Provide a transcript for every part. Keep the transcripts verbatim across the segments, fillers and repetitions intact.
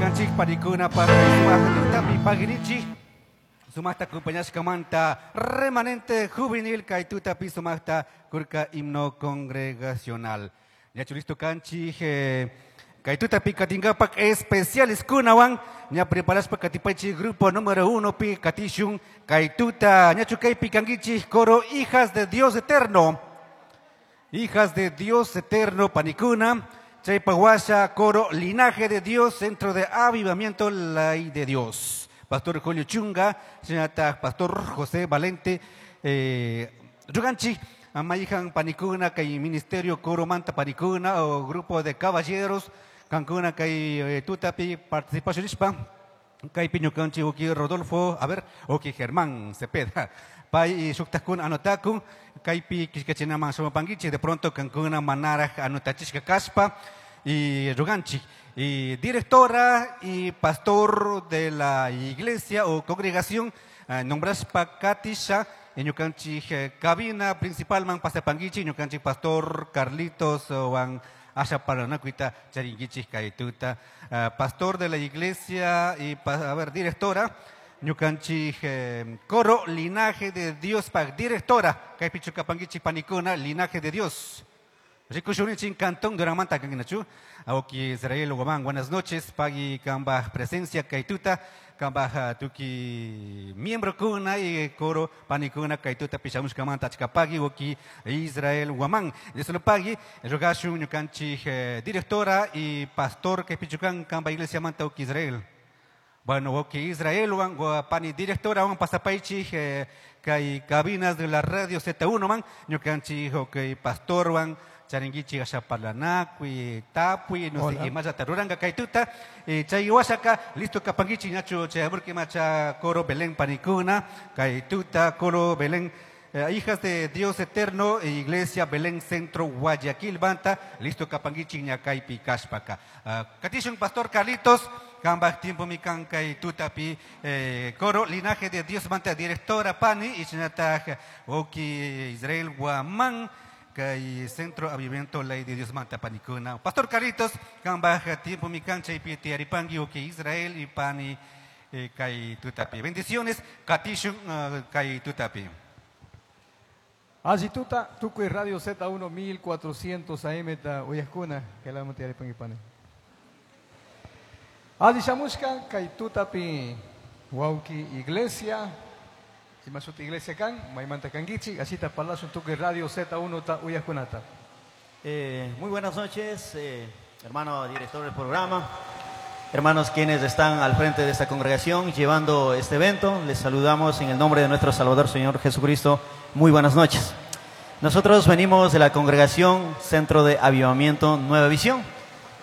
Ñukanchik panikuna sumaq paginichik sumaqta acompañashkamanta remanente juvenil kay tutapi sumaqta kurka himno congregacional. Ñachu listo kanchik eh, kay tutapi katinkapak especiales kunawan ña preparashpa katipaychik grupo número uno pi katishun kay tuta ñachu kaypi kankichik coro Hijas de Dios Eterno. Hijas de Dios Eterno panikuna. Chaypa washa coro Linaje de Dios, Centro de Avivamiento Ley de Dios. Pastor Julio Chunga, señorita Pastor José Valente, eh, Ruganchi, Amayijan panikuna, kay Ministerio Coro Manta panikuna, o grupo de caballeros, kankuna kay eh, tutapi participación ispa, kay ñukanchi uki Rodolfo, a ver, uki Germán Cepeda. Pay shuktakun anotakun, kaypi kishkachinaman shamupankichik, de pronto kankuna manaraj anotachishka kashpa, y ruganchik, y directora y pastor de la iglesia o congregación, eh, nombrashpa katisha, ñukanchik eh, cabina principal man pasapankichik, ñukanchik pastor Carlitos wan asha paranakuita charinkichik kay tuta, uh, pastor de la iglesia y a ver, directora, ñukanchik eh, coro Linaje de Dios pa directora kaypi chukapankichik panikuna Linaje de Dios. Rikushuninchin cantón Duramanta kankinachu. Aoki Israel Guamán, buenas noches. Pagui kambaj presencia kaytuta, kambaj tuki miembro kuna y coro panikuna kaytuta pishamushkamanta achka pagui oki Israel Guamán. De solo pagui, rogashun ñukanchik eh, directora y pastor kaypichukan kamba iglesia manta oki Israel. Bueno, ok, Israel, wan, pani directora, wan pasapaichi, eh, kay cabinas de la radio Z uno, man, ñukanchik, ok, pastor, wan, charinguichi ashapalanakui, tapui, no sé, imaya taruranga kaytuta, eh, chay wasaka, listo kapanguichi, ñachu, chay macha coro Belén panikuna, kaytuta, coro Belén, eh, hijas de Dios Eterno, Iglesia Belén Centro Guayaquil, Banta, listo kapanguichi, ñakaypi kashpaka. Uh, katishun Pastor Carlitos, kambaj tiempo mi kay tutapi eh, coro Linaje de Dios manta directora pani y chinataj oki Israel Guamán kay Centro Avivamiento Ley de Dios manta panikuna. Pastor Carlitos, kambaj tiempo mi kancha y piti aripangui oki Israel y pani eh, kay tutapi. Bendiciones, katishun uh, kay tutapi. Allí tuta, tukuy Radio Z uno mil cuatrocientos A M ta uyajkuna, que la mati aripangui pani. Allí shamushka kay tutapi wauki iglesia, imasuti iglesia kan, maymanta kankichi, así ta palazo tukuy Radio Z uno ta uyajkunata. Eh, muy buenas noches, eh, hermano director del programa, hermanos quienes están al frente de esta congregación llevando este evento, les saludamos en el nombre de nuestro Salvador Señor Jesucristo. Muy buenas noches. Nosotros venimos de la congregación Centro de Avivamiento Nueva Visión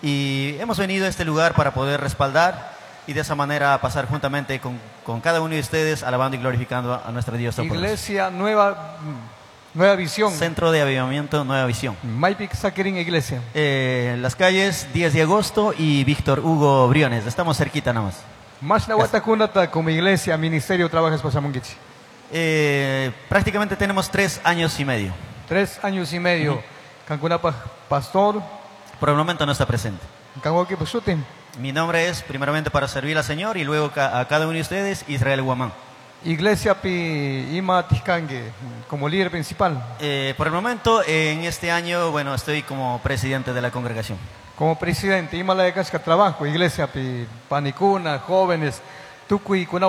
y hemos venido a este lugar para poder respaldar y de esa manera pasar juntamente con, con cada uno de ustedes alabando y glorificando a nuestro Dios Todopoderoso. Iglesia Nueva, Nueva Visión. Centro de Avivamiento Nueva Visión. Maypik Saquerín Iglesia. Eh, las calles diez de agosto y Víctor Hugo Briones. Estamos cerquita nada más. Mashna watakunata como iglesia, ministerio, trabajas pasamunguichi. Eh, prácticamente tenemos tres años y medio. Tres años y medio. Uh-huh. Cancunapa, pastor. Por el momento no está presente. Canguaki, Pasutin. Mi nombre es, primeramente, para servir al Señor y luego a cada uno de ustedes, Israel Guamán. Iglesia Pi Ima Tizcangue, como líder principal. Eh, por el momento, en este año, bueno, estoy como presidente de la congregación. Como presidente, Ima la de Casca trabajo, Iglesia Pi Panicuna, jóvenes, Tucuy, Cunahuan.